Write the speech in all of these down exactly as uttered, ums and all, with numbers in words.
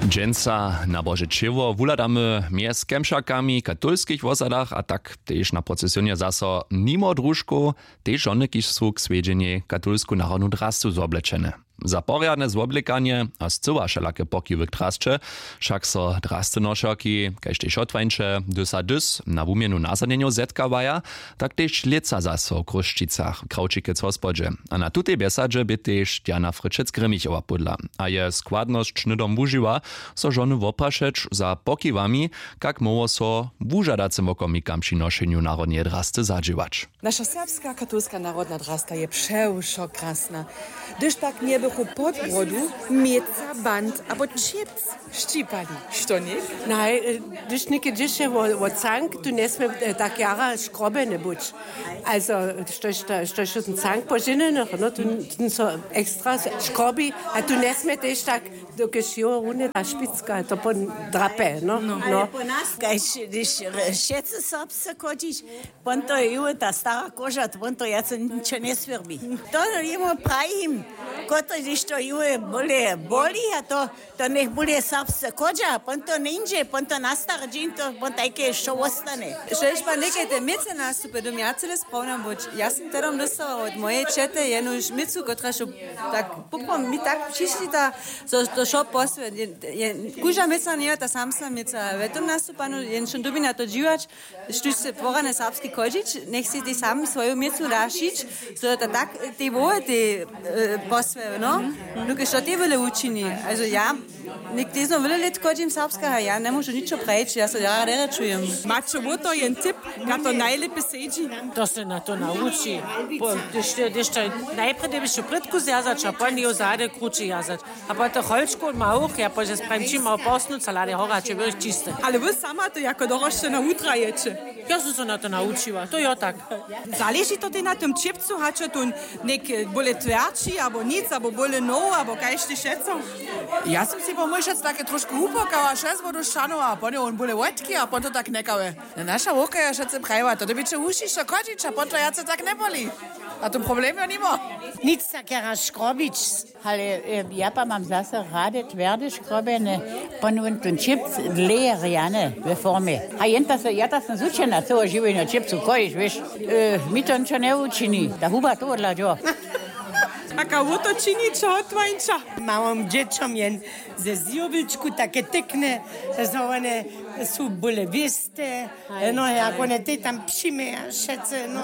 Dźensa na Bože ćěło wuhladamy mjez Kemšakami w katolskich wosadach a tak tež na procesionje zaso nimo družkow, tež žony, kiž su k swjedźenjej katolsku narodnu drastu zwoblečene. Za porjadne zwoblekanje a scyła wšelake pokiwy k drasće, wšak so drasty nošerki, kaž tež hotwańće, dys a dys na wuměnu nazhonjenjow zetkawaja, tak tež lětsa zaso w Chrósćicach w Krawčikec hospodźe. A na tutej bjesadźe bě tež Diana Fryčec-Grimmichowa pódla a je składnosć hnydom wužiła, so žony woprašeć za pokiwami, kak móhło so wužadacym wokomikam při nošenju narodneje drasty zadźěłać. Naša serbska katolska narodna drasta je přewšo krasna. Hdyž pak njebychu pod brodu měca band abo čěpc šćipali, što něk? Naj, e, hdyž něke dźěše wo, wo cank, tu njesmě, e, tak jara škrobjene być. Also, štož ta, štož ten cank po ženjenych, no, tu, tu so ekstra škrobi, a tu njesmě tež tak, dokelž jo runje ta špicka, to pon drape, no. No. Ale po nas, kaž, hdyž, e, wšetcy serbsce chodźić, pon to je ju ta stara koža, pon to wjace ničo njeswěrbi. To jemu prajim, kotrež, hdyž to ju bóle boli, a to, to njech bóle serbsce chodźa, pon to njeńdźe, pon to na stary dźeń, to pon tajke wšo wostane. Štož ma někaj te měce nastupy, dym ja cyle sprawna być. Ja sym tehdom dóstała wot mojeje ćety jenož měcu, kotraž tak poprawom mi tak přišli ta, zo to wšo posły, je, je, kóžda měca njeje ta samsna měca, we tom nastupanu jen wšo dyrbi na to dźiwać, štóž chce porjadnje serbski chodźić, njech sej tež sam swoju měcu da šić, zo to tak, e, tej wołe tej, e, posłe, no. Dokelž to tej wjele wučini. Also ja, něk-, tež so wjele lět chodźim serbska a ja njemóžu ničo prajić, ja so jara derje čujem. Maće wo to jen tip, kak to najlěpje sedźi? To se na to nawuči. Po, hdyž, hdyž to najprjedy běše prědku zwjazać a pon jeho zady krući wjazać. A potom holčku ma wuch, ja pozdźe spravim, či ma posnuć, salady hora, či byłeś čisty. Ale wy sama to jako dorošćena wutrajeće? Ja sam so na to nawučiła, to jo tak. Zaleži to tej na tym čěpcu, hač to něk bóle twjerći, abo nic, abo bóle now, abo kaž ty wšetco? Ja sam sej pomyšlac take trošku wupokała, šest wodu šanowa, a pon je wón bóle wotki, a pon to tak njekałe. Na naša wowka je wšetcy prajiła, to dyrbiće wušišo chodźić, a pon to wjace tak njeboli. A to problem jo nimo. Nic tak jara škrobić. Ale, e, ja pa mam zaso rady twjerde škrobjene, pon wón ten čěpc dlěje rjane we formje. A jen ta se, ja ta sym zwučena ceło žiwjenje čěpcu chojić, wěš, e, mi to ničo njewučini, ta huba to wodla dźo. A kaž wo to činiće, hotwańča? Małym dźěćom jen ze zjowilčku take tykne, zo wone su bóle wěste. No, jak wone tej tam přijmeja wšetcy, no.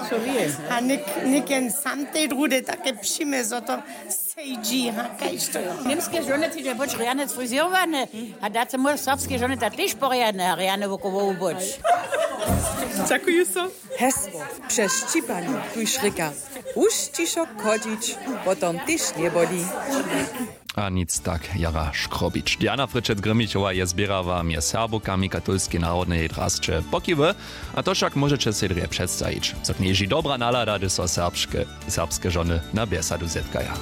A něk-, něk jen sam tej druhdy take přijme, zo to sejdźi, ha, kaž to jo. Němske žony, ty je być rjane frizěrowane, a dace móhł serbske žony da tež porjadne a rjane wokoło być. Dźakuju so. Hesło přez šćipanje tuž rěka: Wušćišo chodźić, potom tež njeboli. A nic tak jara škrobić. Diana Fryčec-Grimmichowa je zběrała mjez Serbowkami katolskej narodneje drasće pokiwy, a to wšak móžeće sej drje předstajić, zo knježi dobra nalada, hdyž so serbske, serbske žony na bjesadu zetkaja.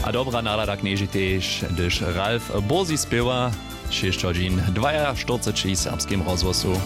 A dobra nalada knježi tež, hdyž Ralf Bursi spěwa šěsć hodźin dwajaštyrceći w Serbskim rozhłosu.